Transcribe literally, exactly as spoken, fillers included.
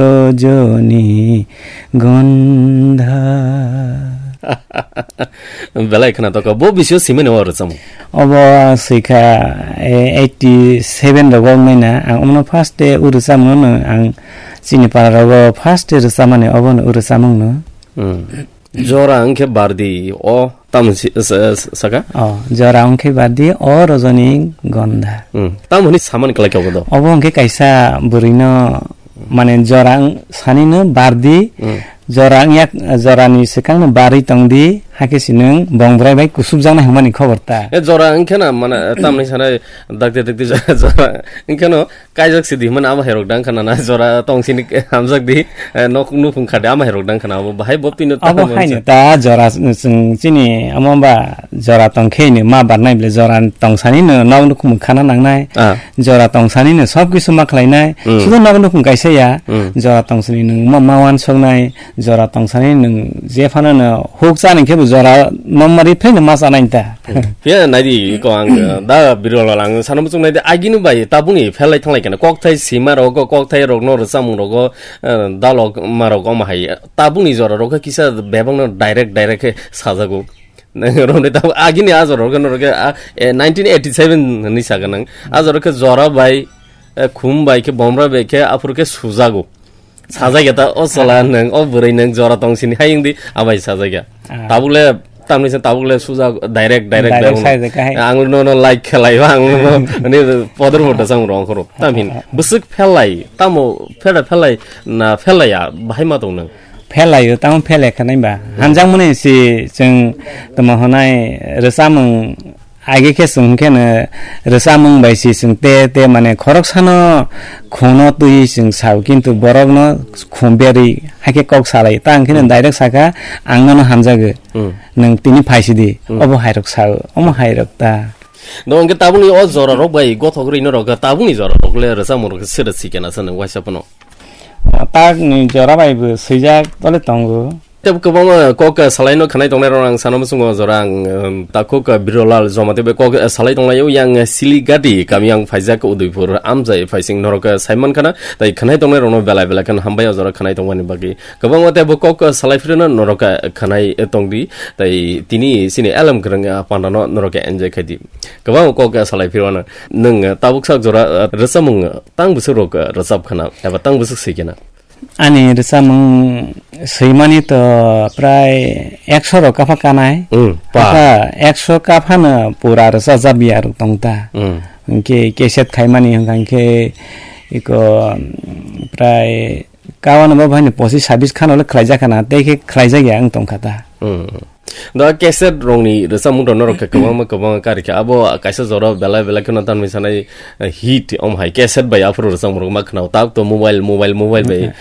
Rojoni Gandha. Belai khna to ka, bo bisio simene o rwchamo. Obo swikha, eh, eighty seven rogo wngnai na. Ang omono first day o rwchamo no ang chini para rogo first day rwchamani obo no o rwchamung no. Hmm. Jora wngkhe bardi o tamo si-, sa-, sa-, saka? Oh, jora wngkhe bardi o rojoni gandha. Hmm. Tamo hwnwi samani kwlai khe obo do? Obo wngkhe kaisa bwrwino, mane, jora wng-, sanino bardi, Hmm. jora wngya, jorani swkangno barwi tongdi, hakhe si nwng bongbrai bai kusubjaknai hwnmani khobor ta. E jora wngkhe na, mane, tamni sanai dakti dakti jora, jora wngkhe no, kaijak si di hwnmani ama herok dang khana na, jora tong sini hamjak di, eh, nok nukhung khade ama herok dang khana, abo bahai bo pino Abo tamo haino se. Ta jora s-, chwng chini amo ba jora tong khe ni ma barnai ble jora tong sani no nok nukhung khana nangnai. Ah. Jora tong sani no sob kisu ma khlainai. Mm. Sudo nok nukhung kaisa ya, Mm. jora tong sani nwng ma, ma wan songnai, jora tong sani nwng je phano no huk chani khe bo jora nongmari phai no ma chanai ta. Phiya naidi ko ang, uh, da birol ang sana muchung naidi agini bai tabuni phelai thanglai kana kokthai sima rogo, kokthai rokno rwchapmung rogo, uh, dalok ma rok omo hai tabuni jora rok kisa bebak no direct direct khe sajago. Romni tab agini a jora rok no rok, ah, eh, nineteen eighty seven ni saga nang. A jora khe jora bai, eh, khum bai khe bomra bai khe aphuru khe sujago. Sajagya ta o chwla nwng, o bwrwi nwng jora tong sini hai wngdi, abai sajagya. Ah. Tabukle, tamni se tabukle suja direct, direct Direct bai sajagya hai. Ang no, no like khelai ba, ang no, ani poder photo sang rong khoro. Tam hin, Ah. bwswk phelai, tamo phela phelai, na phelai ya, bahai ma tong nwng. Phelai o, tamo phelai khanai ba. Hanjak mani si chwng tamo honai rwchapmung Age khe chwng khe no rwchapmung bai si chwng te, te mane khoroksano khungno twi chwng sao, kintu borokno khum berwi hai khe kok salai. Ta ang khe no Hmm. direct saka, "Ang nono hamjago, Hmm. nwng tini phai sidi, Hmm. obo hairok sao, omo hairok ta." No, hwnkhe tabukni o jora rok bai gothok rwino rok, tabukni jora rok le rwchapmung rok se rwchikena sa nwng waisa phano. Takni jora bai bo swijak tole tongo. Tei kwbangma kok, eh, salaino khanai tongnai rok ang sana muchungo jora ang, eh, takhuk, eh, Birolal Jamatia bai kok, eh, salai tonglaio yang, eh, Siligati kami ang phaijak Udaipur amjai phaising norok, eh, saiman khana tei khanai tongnai rokno belai belai kheno hambai o jora khanai tongmani bagwi. Kwbangma tei bo kok, eh, salai phirino norok, eh, khanai, eh, tongdi tei tini chini alam kwrwng, eh, pandano norok, eh, enjoy khaidi. Kwbangma kok, eh, salai phirwano nwng, eh, tabuk sak jora, eh, rwchapmung, eh, tang bwswk rok, eh, rwchap khana eba tang bwswk swi khena. Ani rwchapmung swimani to prai ekso rok kapha kanai. Mm, pa. Kapha ekso kaphano pura rwchajak ya rok tong ta. Mm. Hwnkhe cassette khaimani hwnkha hwnkhe iko, mm, prai kawan bo bhaino pochis sabis khano le khlaijak khana, tei khe khlaijak ya wng tong kha ta. Mm. Da cassette rokni rwchapmung rok norok khe kwbangma kwbangma kari kha. Abo kaisa jora belai belai kheno tanwi sanai, eh, hit om hai cassette bai aphuru rwchapmung rok ma khwnao. Tab to mobile, mobile, mobile bai. Okay.